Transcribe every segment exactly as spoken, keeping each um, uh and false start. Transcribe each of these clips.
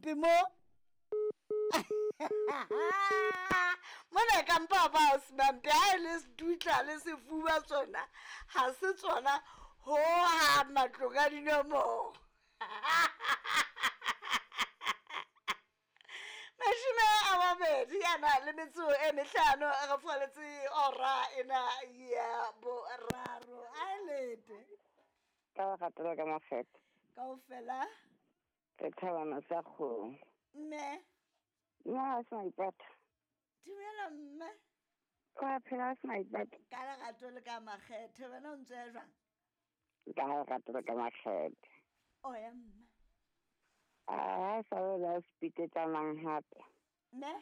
Mampe mo mona ka mpa ba o Mampe ha e le sedutla le sefuba tsona ha se tsona ho ha matlong a dinomoro. Mashome a mabedi a na le metso e mehlano re falletse ora ena ya boraro. A lete ka ratela ka mafeta kaofela re thabana sa kgomo mme nna se maipata. Dumela mme. Wa phela se maipata ka lerato le ka makgethe wena o ntse jwang? Ka lerato le ka makgethe. O ya mme. A sa le la sepiketsanang hape. Ne?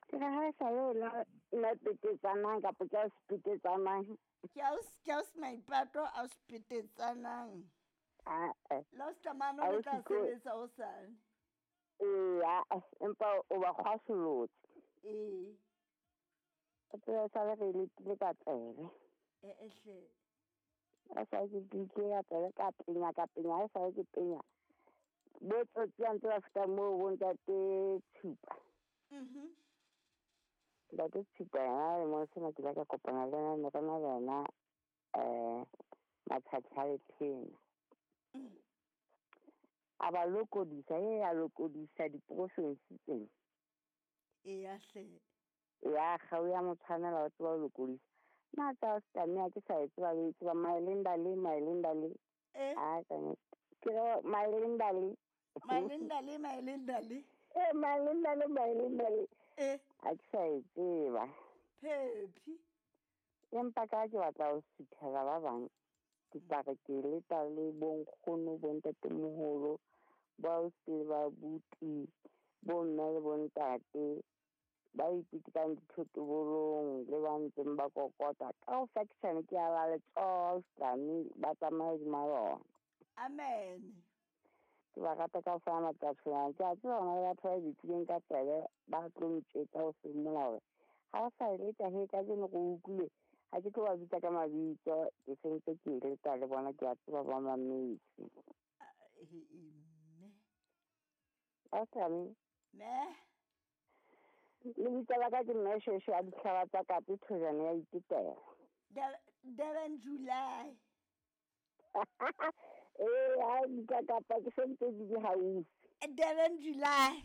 Ke re ha sa le la la petetsanang kapa ke a sepiketsanang. Ke a ke a maipato a sepiketsanang. Ah eh. La stamano le tla sebetsa o sane. Ee, empa o ba kgwasolotse. Ee. O tseba sa le re letile ka tsebe. E ehle. A sa ke ditse ka tsebe ka penya ka penya ha sa ke penya. Bo tsotsi a ntse ba feta moo bo ntate Tshupa. Mhm. Ntate Tshupa yena le mo sena ke la ka kopana le yena ne re na le yena eh Matshatsha le Thena. A ba lokodisa e a lokodisa diprofensi tsena. E ya hle. Ya kgau ya mo tshwanela o tseba ho lokodisa. Nna tsa Stamia ke sa e tseba le tseba Malinda le Malinda le. Eh. A ka ke re Malinda le. Malinda le Malinda le. Eh Malinda le Malinda le. Eh. A ke sa e tseba. Phephi. Empa ka ke batla ho suthela ba bang. Ke tla re ke leta le bonkgono bontatemoholo ba o se ba buti bo mme le bontate ba ipitikang dithotobolong le ba ntseng ba kokota ka ho faction ke a ba letsoho Sami ba tsamaye hodima yona. Amen. Ke ba rata ka ho fa matsatsi a ke a tseba hona le batho ba bitlileng ka tsebe ba tlo ntjwetsa ho seng molao hore ha o sa e leta he kajeno re utlwile ha ke tlo ba bitsa ka mabitso ke sentse ke e leta le bona ke a tseba ba mametse. Mme. Sami. Me. Lebitso la ka ke Mme Shweshwe a dihlaba tsa Kape Thojane ya Itetela. Durban July. Eh, ha bitsa Kapa ke sentse ke di haufi. Durban July.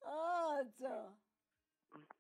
Oh, tso.